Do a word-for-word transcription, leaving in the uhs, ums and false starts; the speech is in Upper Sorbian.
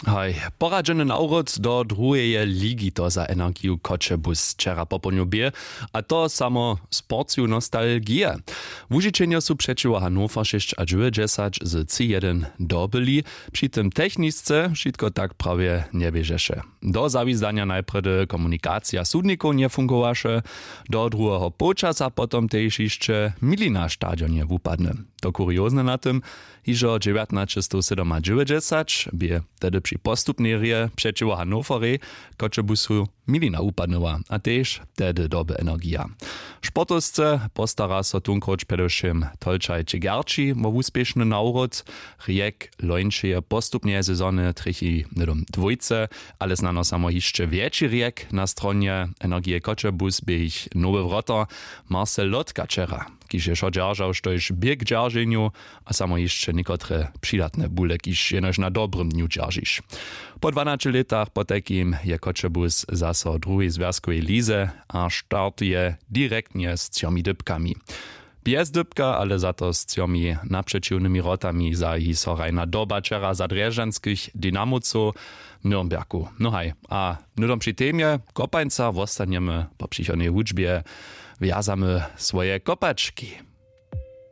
Haj, poradźeny nawrót do druheje ligi to za energiju Choćebuz wčera popołdnju bě, a to samo z porciju nostalgije. Łužičenjo su přećiwo Hannover šěsć a dźewjećdźesać z tři jedyn dobyli, při tym technisce wšitko tak prawje njeběžeše. Do zawizdanja najprjedy komunikacija sudnikow njefungowaše, do druheho połčasa potom tež hišće Milina stadion je wupadny. To kuriozne na tym, hižo dźewjatnaćestowsydomadźewjećdźesać bě tehdy při postupnej hrě přećiwo Hannoverej Choćebuzu Milina wupadnyła a tež tehdy doby energija. Sportowsce postara so tunkróć předewšěm Tolčaj Čegerči wo wuspěšny nawrót. Rjek lońšeje postupneje sezony trjechi hnydom dwójce, ale snano samo hišće wjetši rjek na stronje energije Choćebuz bě jich nowy wroter Marcel Lotka wčera, kiž je wšo dźeržał štož bě k dźerženju, a samo hišće někotre přidatne bule, kiž jenož na dobrym dnju dźeržiš. Po dwanaće lětach potajkim je Choćebuz zaso w druhej zwjazkowej lize a startuje direktnje z třomi dypkami. Bjez dypka, ale za to z třomi napřećiwnymi wrotami zahi so hrajna doba wčera za drježdźanskich Dynamowcow w Nürnbergu. No haj, a hnydom při temje kopańca wostanjemy po přichodnej hudźbje. Wjazamy swoje kopački.